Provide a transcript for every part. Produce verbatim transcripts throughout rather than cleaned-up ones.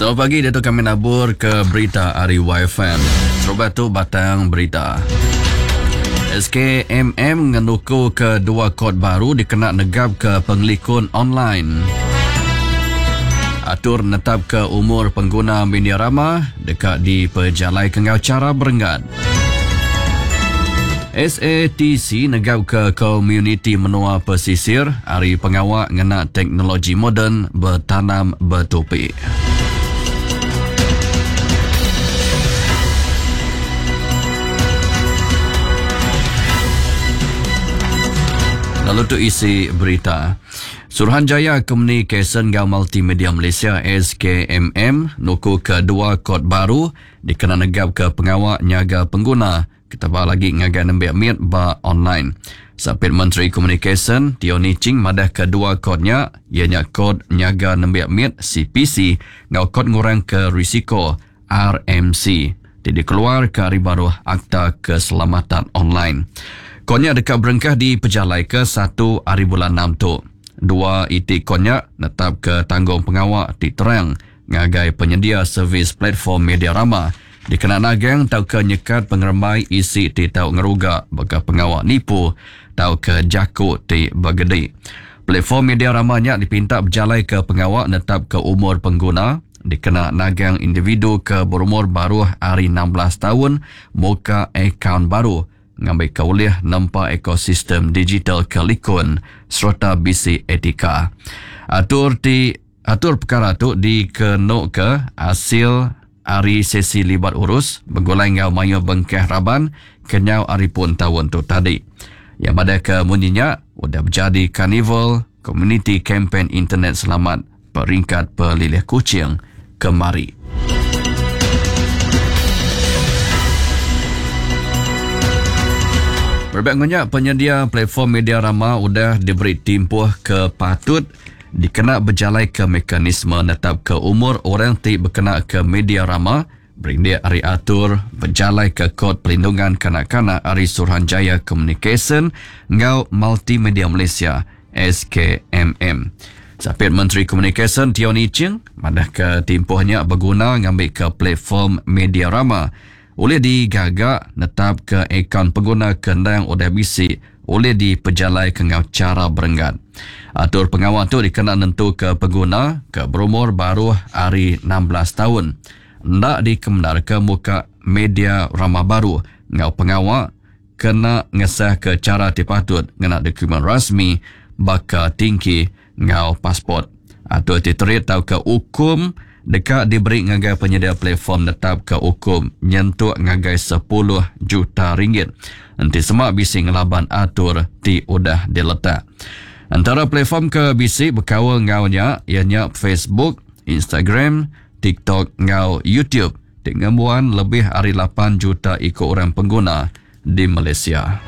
Selamat pagi, Dato' kami nabur ke berita ari Y F M. Serubah tu batang berita. S K M M ngenuku ke dua kod baru dikena negap ke pengelikun online. Atur netap ke umur pengguna media rama dekat di pejalai kengau cara berenggat. S A T C negap ke komuniti menua pesisir hari pengawak ngena teknologi moden bertanam bertupi. Lalu tu isi berita. Suruhanjaya Komunikasi dan Multimedia Malaysia S K M M nuku ke dua kod baru dikena negap ke pengawak nyaga pengguna ketaba lagi ngagai nembiak miat ba online. Sapit Menteri Komunikasi Teo Nie Ching madah ke dua kodnya ianya kod nyaga nembiak miat C P C ngau kod ngurang ke risiko R M C ti dikeluar ke hari baru Akta Keselamatan Online. Kodnya dekat berengkah di pejalai ke satu hari bulan enam tu. Dua itik kodnya netap ke tanggung pengawak ti terang ngagai penyedia servis platform media rama dikena nagang tau ke nyekat pengerembai isi ti tau ngeruga bagi pengawak nipu tau ke jaku ti bergedi. Platform media ramanya dipinta berjalai ke pengawak netap ke umur pengguna dikena nagang individu ke berumur baru hari enam belas tahun muka akaun baru ngambil ke ulih nempa ekosistem digital ke likun serta bisi etika. Atur ti atur perkara tu dikenuk ke hasil hari sesi libat urus bergulai ngau mayu bengkeh raban kenyau hari pun tahun tu tadi. Yang pada ke munyinya udah berjadi Carnival Community Campaign Internet Selamat peringkat Pelilih Kuching kemari. Berbek ngunyak penyedia platform media rama udah diberi timpuh ke patut dikena berjalai ke mekanisme netap ke umur orang ti berkena ke media rama berindik hari atur berjalai ke kod perlindungan kanak-kanak hari Suruhanjaya Komunikasi ngau Multimedia Malaysia S K M M. Sapit Menteri Komunikasi Teo Nie Ching madah ke timpuhnya berguna ngambil ke platform media rama oleh digagak netap ke akaun pengguna kendang udah bisi oleh dipejalai ke ngau cara berenggat. Atur pengawal tu dikena nentu ke pengguna ke berumur baru hari enam belas tahun. Ndak dikemenar ke muka media rama baru ngau pengawal kena ngesah ke cara ti patut ngena dokumen rasmi baka tingki ngau pasport. Atur ti terit tau ke hukum dekat diberi ngagai penyedia platform netap ke hukum nyentuk ngagai sepuluh juta ringgit. Enti semak bisi ngelaban atur ti udah diletak. Antara platform ke bisi berkawal ngaunya ianya Facebook, Instagram, TikTok ngau YouTube. Ti ngembuan lebih ari lapan juta ikut orang pengguna di Malaysia.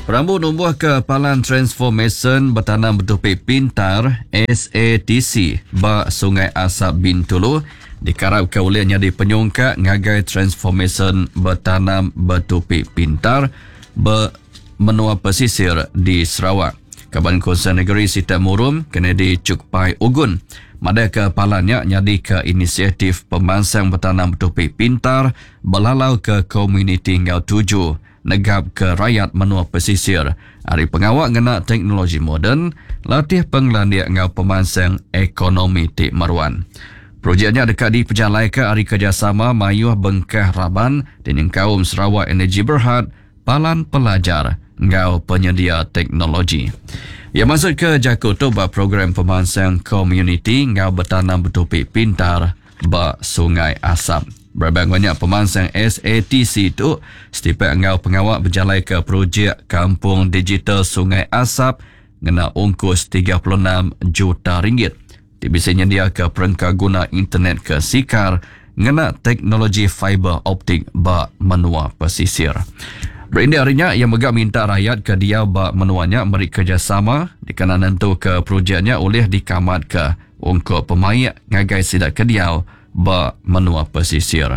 Perambu numbuh ke Palan Transformation Bertanam Bertupi Pintar S A T C ba Sungai Asap Bintulu dikarap ke ulih nyadi penyungkak ngagai Transformation Bertanam Bertupi Pintar be menua pesisir di Sarawak. Kaban Konsel Negeri Sitak Murum Kennedy Chukpai Ugun madah ke palannya nyadi ke inisiatif pemansang bertanam bertupi pintar belalau ke komuniti ngau tuju negap ke rakyat menua pesisir. Hari pengawak ngena teknologi moden, latih penglandiak ngau pemansang ekonomi ti meruan. Projeknya dekat di pejalai ke hari kerjasama mayuh bengkah raban dan kaum Sarawak Energy Berhad, Palan Pelajar ngau penyedia teknologi. Ia masuk ke Jakarta ba program pemansang komuniti ngau bertanam bertupi pintar ba Sungai Asap. Berabang banyak pemansang S A T C tu setipak ngau pengawak berjalai ke projek Kampung Digital Sungai Asap ngena ongkos tiga puluh enam juta ringgit. Ti bisa nyendia ke perengka guna internet ke sikar ngena teknologi fiber optik ba menua pesisir. Berindik harinya yang megak minta rakyat ke dia ba menuanya meri kerjasama dikena nentu ke projeknya oleh dikamat ke ungkup pemaik ngagai sidak ke dia ba menua pesisir.